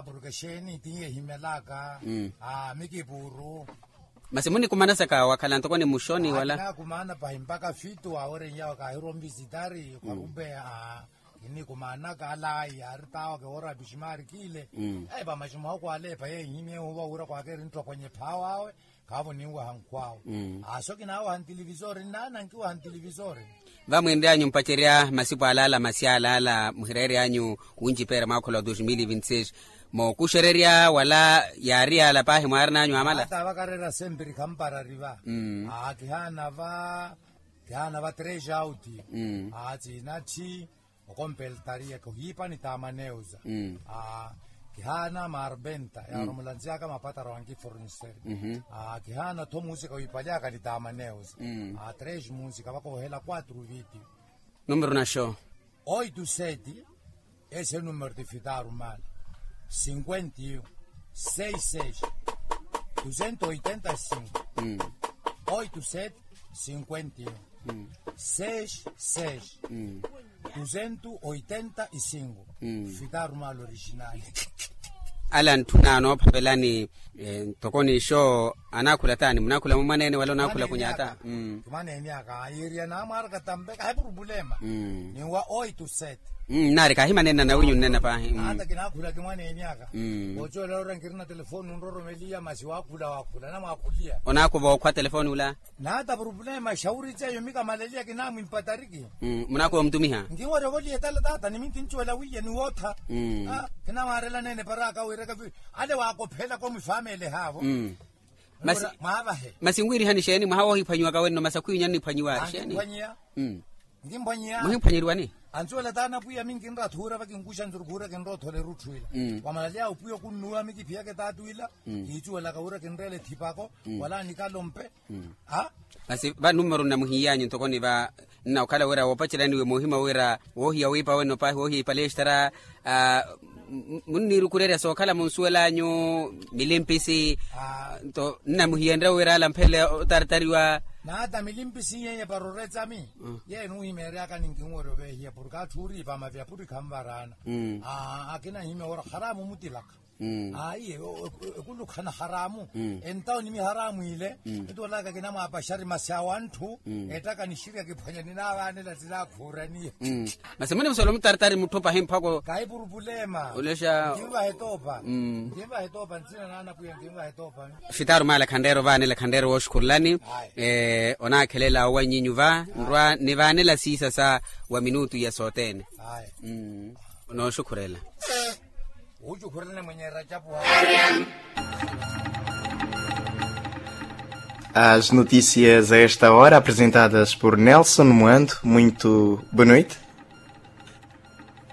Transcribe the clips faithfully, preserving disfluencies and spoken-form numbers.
Purke xeeni tiiye ehimelaka. Mikipuru. Masi munikumanasaka wakhala ntoko ni muxoni wala? Kinakumaana pahi mpaka fitu awerenyawe kaahirwa onvisitari kwarumpe. Kinikumaanaka alayi yaari tawa kewoora apiximaari kiile. Epa maximwaho kwaleepa yeehimye huva wira kwakeri nttokonye phaawawe. Khaavo ninwaha nkhwaawe. Aso kinaawaha ntilivisori nnaana nkiwaha ntilivisori. Vamwinryanyu mpacerya masipu alaala masi alaala muhireeryanyu, wuncipeera mwaakhula wa dos mil e vinte seis. Mookuxererya wala yaari yaala paahi mwaarinanyu amala? Ata vakareera sempiri khamparari va. Aa kihaana va kihaana va tres auti. Aa tsinatthi okompeltariya kohiipa ni tamaneuza. Kihaana marventa yaaromolantiyaka mapataro ankiforniseri. Kihaana tho muusika wiipalyaka ni tamaneuza. Tres muusika vakoohela quatro viti. Numero naxo? Oito sete. Ese numero tifitaru mala cinquenta e um seis seis duzentos oitenta e cinco. Oito sete cinquenta e um seis seis duzentos oitenta e cinco. Fitaru mala originali. Ala ntthuna anoophavelani. Ntoko nixo anaakhula taani munaakhula mumwaneene wala onaakhula kunyata? Kimwaneene aka yiiriya naamwaaraka tampe kahi purupulema. Ni wa oito sete. Nnaari kahimanenna nawinyu nnena paahi. Ata kinaakhula kimwaneene aka. Ocoolera ora nkirina telefoni nroromeliya masi waakhula waakhula namwaakhuliya. Onaakuva okhwa telefoni ula? Naata purupulema exawuri ceyo mikamaleliya kinamwimpatariki. Munaakuva omutumiha? Nkinwarya ovoliya etala taata ni minkincuwela wiiya ni wootha. Kinamwaarela neene paraka wiiraka ale waakophelaka omwifaamele haavo. Masi nwiirihani xeeni mwaha woohiphwanyiwaka wenno masi akhwiinyani niphwanyiwa xeeni? Nkimphwanyiya. Muhimphwanyeriwani? Ancuwela taana pwiya minkinra athuura vakinkuxa nzurukhuura kinroothola erutthu ila. Wamalaleya opwiya okunnuwa mikiphiyaka etaatu ila. Kiicuwelaka wira kinreela ethipako wala nikalompe. Masi va numero nnamuhiyanyu ntoko ni va nna okhala wira woopacelanyiwe moohima wira woohiya wiipa wenno paahi woohiya ipalestara. Munniirukurerya sookhala munsuwelanyu milimpisi. Nto nnamuhiyenrya wira alamphele otaratariwa. Naata milimpisi nyenya para oretsami. Yeyo nuhimeeryaka ninkinwerya oveehiya porke atthu uriipa mavi apuri khanvaraana. Akina hime wira haramu mutilaka. Ayi ekulukhana haramu. Entawo ni miharamu ile. Etolaka kinamwaapaxari masi awanthu. Ettaka nixirya kiphwanya ninaavaanela tinaakhuuraniye. Masi muni musolo mutaratari mutthu pahi mphako. Kaipurupulema. Olexa. Nkinvaha etoopa. Nkinvaha etoopa ntsina naana pwiya nkinvaha etoopa. Fitaru mala khanreero vaanela khanreero wooxukhurelani. Onaakhelela owanyinyu va nrwa nivaanela siisa sa wa minutu ya sothene. Nooxukhurela. As notícias a esta hora apresentadas por Nelson Moando. Muito boa noite.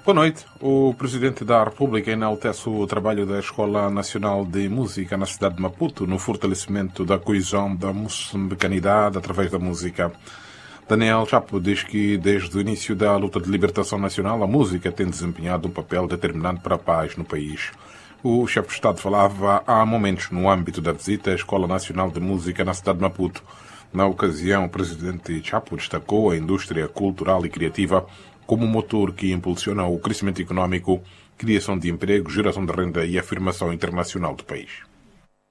Boa noite. O Presidente da República enaltece o trabalho da Escola Nacional de Música na cidade de Maputo no fortalecimento da coesão da moçambicanidade através da música. Daniel Chapo diz que, desde o início da luta de libertação nacional, a música tem desempenhado um papel determinante para a paz no país. O chefe de Estado falava há momentos no âmbito da visita à Escola Nacional de Música na cidade de Maputo. Na ocasião, o presidente Chapo destacou a indústria cultural e criativa como motor que impulsiona o crescimento económico, criação de emprego, geração de renda e afirmação internacional do país.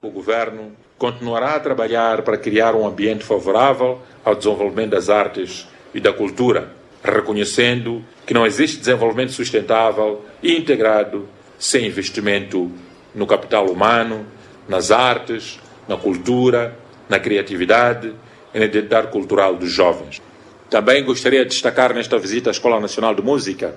O governo continuará a trabalhar para criar um ambiente favorável ao desenvolvimento das artes e da cultura, reconhecendo que não existe desenvolvimento sustentável e integrado sem investimento no capital humano, nas artes, na cultura, na criatividade e na identidade cultural dos jovens. Também gostaria de destacar nesta visita à Escola Nacional de Música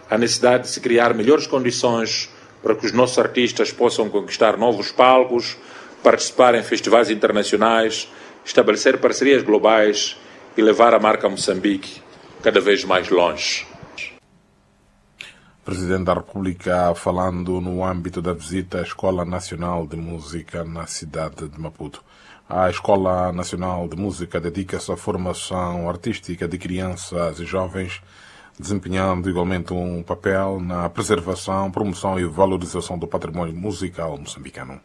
a necessidade de se criar melhores condições para que os nossos artistas possam conquistar novos palcos, participar em festivais internacionais, estabelecer parcerias globais e levar a marca Moçambique cada vez mais longe. Presidente da República falando no âmbito da visita à Escola Nacional de Música na cidade de Maputo. A Escola Nacional de Música dedica-se à formação artística de crianças e jovens, desempenhando igualmente um papel na preservação, promoção e valorização do património musical moçambicano.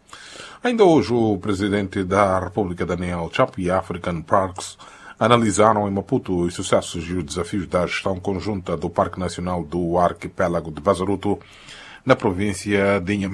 Ainda hoje, o Presidente da República, Daniel Chapo, e a African Parks analisaram em Maputo os sucessos e os desafios da gestão conjunta do Parque Nacional do Arquipélago de Bazaruto, na província de Inhambane.